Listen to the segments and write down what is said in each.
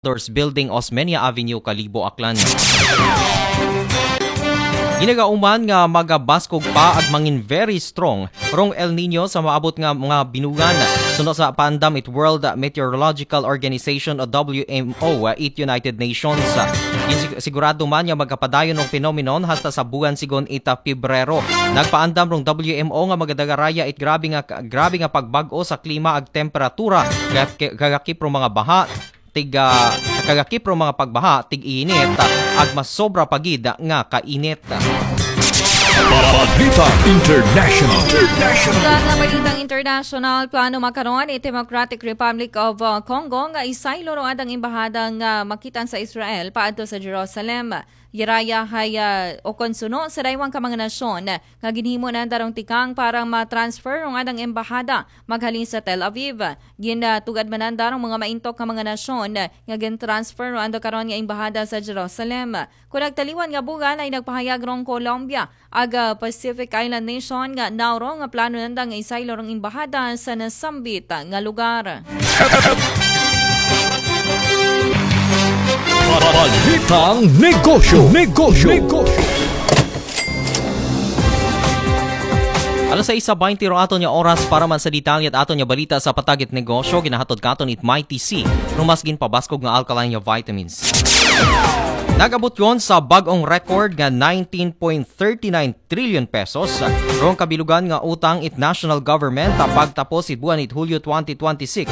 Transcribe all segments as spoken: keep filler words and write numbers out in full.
Doors Building, Osmeña Avenue, Kalibo, Aklan. Ginagauman nga magabaskog pa ag mangin very strong rong El Nino sa maabot nga mga binugan. Suno sa paandam it World Meteorological Organization o W M O, it United Nations. Gisigurado man nga magkapadayon ang phenomenon hasta sa buwan sigon ita Pebrero. Nagpaandam rong W M O nga magadagaraya it grabe nga grabe nga pagbag-o sa klima ag temperatura, kagakip rong mga baha, tig ah, kagakip rong mga pagbaha, tig-init, ag mas sobra pa gid nga kainit. Balita International. Sa mga balitang international, plano makaron it Democratic Republic of uh, Congo nga isaylo ro adang embahada nga makitaan sa Israel paadto sa Jerusalem. Yaraya hay uh, o konsuno sa daywang ka mga nasyon nga ginhimo na darong tikang para ma-transfer rong adang embahada maghalin sa Tel Aviv. Ginatugad man na darong mga maintok ka mga nasyon nga gin-transfer ro ando karon nga embahada sa Jerusalem. Kung nagtaliwan nga bugan ay nagpahayag rong Colombia, aga Pacific Island Nation nga Nauro nga plano nanda nga isaylo rong embahada sa nasambit nga lugar. Balitang negosyo. Negosyo. Negosyo. Alas sais sa baynte ro aton nga oras para man sa detalye at aton nga balita sa patagit negosyo, ginahatod katon it Mighty C, rumas ginpabaskog nga alkaline nga vitamins. Nagabot yon sa bag-ong record nga nineteen point thirty nine trillion pesos rong kabilugan nga utang it national government pagtapos it buwan it Hulyo twenty twenty-six.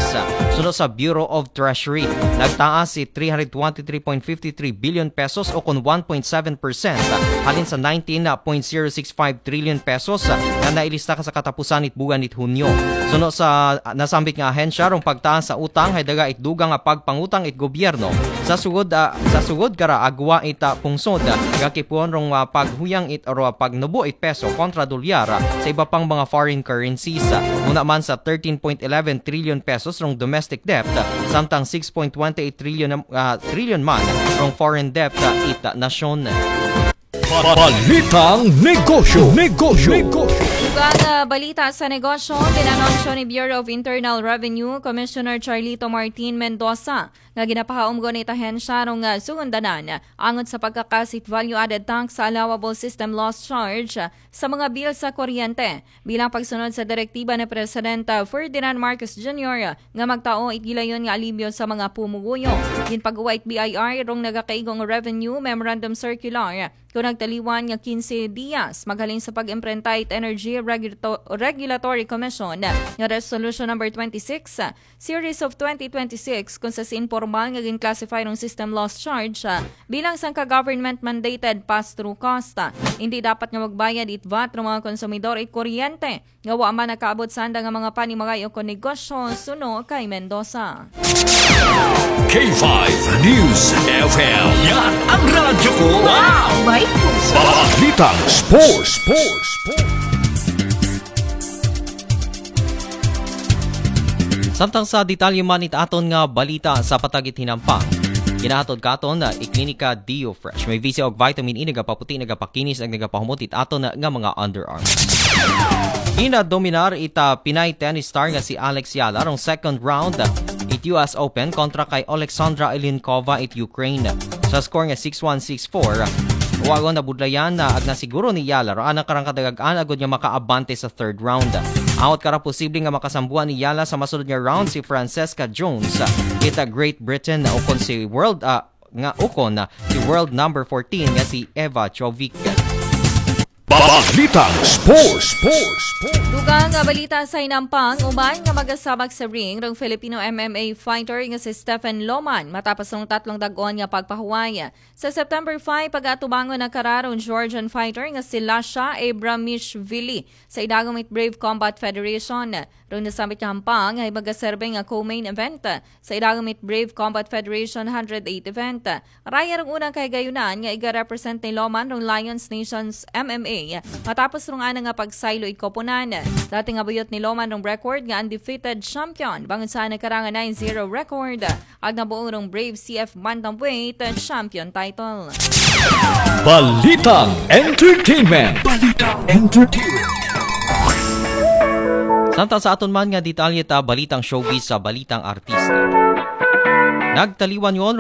Suno sa Bureau of Treasury, nagtaas it three hundred twenty-three point fifty-three billion pesos o kon one point seven percent halin sa nineteen point zero six five trillion pesos nga nailista ka sa katapusan it buwan it Hunyo. Suno sa nasambit nga ahensya, rong pagtaas sa utang hay daga it dugang nga pagpangutang it gobyerno sa sugod ah, sa sugod kara agwa it ah, pungsod, gakipon rong ah, paghuyang it ro pagnubo it peso kontra dolyar sa iba pang mga foreign currencies. Una man sa thirteen point eleven trillion pesos rong domestic debt, samtang six point twenty eight trillion ah, trillion man rong foreign debt ah, it ah, nasyon. Balitang negosyo. Negosyo. Negosyo. Ug ang ah, balita sa negosyo, ginanunsyo ni Bureau of Internal Revenue Commissioner Charlito Martin Mendoza nga ginapahaumgon it ahensya rong ah, sugundanan angot sa pagkakas it value-added tax sa allowable system loss charge ah, sa mga bill sa kuryente. Bilang pagsunod sa direktiba ni Presidente Ferdinand Marcos Junior nga magtao it gilayon nga alibyo sa mga pumuguyo, ginpagawa it B I R rong nagakaigong Revenue Memorandum Circular kung nagtaliwan nga quince dias maghalin sa pag-imprenta it Energy Regulato- Regulatory Commission nga Resolution Number twenty-six, Series of twenty twenty-six, kung sa si informal nga gin-classify rong system loss charge ah, bilang sangka government-mandated pass-through cost. Ah, hindi dapat nga magbayad it vat rong mga konsumidor it kuryente nga wa man nakaabot sanda nga mga panimagay o kon negosyo suno kay Mendoza. K five News F M. Yan ang radyo ko. Wow! May puso. Balitang sports. Sports. Sports. Samtang sa detalye man it aton nga balita sa patagit hinampang, ginahatod katon na i Klinika Dio Fresh. May visi og vitamin E, nagapaputi, nagapakinis, ag nagapahumot it aton nga mga underarms. Ginadominar ita Pinay tennis star nga si Alex Yala rong second round it U S Open kontra kay Alexandra Ilinkova it Ukraine sa score nga six one, six four. Wagon na budlayan na ag nasiguro ni Yala ro anang karang kadagang agod nga makaabante sa third round. Awat kara posible nga makasambuan ni Yala sa masunod nga round si Francesca Jones kita Great Britain ukon si world ah, nga ukon si world number fourteen nga si Eva Jovic. Balitang sports. Sports. Sports. Dugang nga balita sa hinampang, uban nga magasabak sa ring rong Filipino M M A fighter nga si Stephen Loman matapos ng tatlong dagon nga pagpahuway. Sa September five, pag-atubangon na kararong Georgian fighter nga si Lasha Abramishvili sa idagom it Brave Combat Federation. Rong nasambit nga hampang ay magaserbe nga co-main event sa idagom it Brave Combat Federation hundred eight event. Raya rong unang kahigayunan nga iga-represent ni Loman rong Lions Nations M M A matapos rong ana nga pagsaylo it koponan. Dati nga buyot ni Loman rong record nga undefeated champion bangon sa nagkarang nine zero record. Ag nabuong rong Brave C F Bantamweight champion title. Balitang entertainment. Balitang entertainment. Samtang sa aton man nga detalye ta balitang showbiz sa balitang artista. Nagtaliwan yon,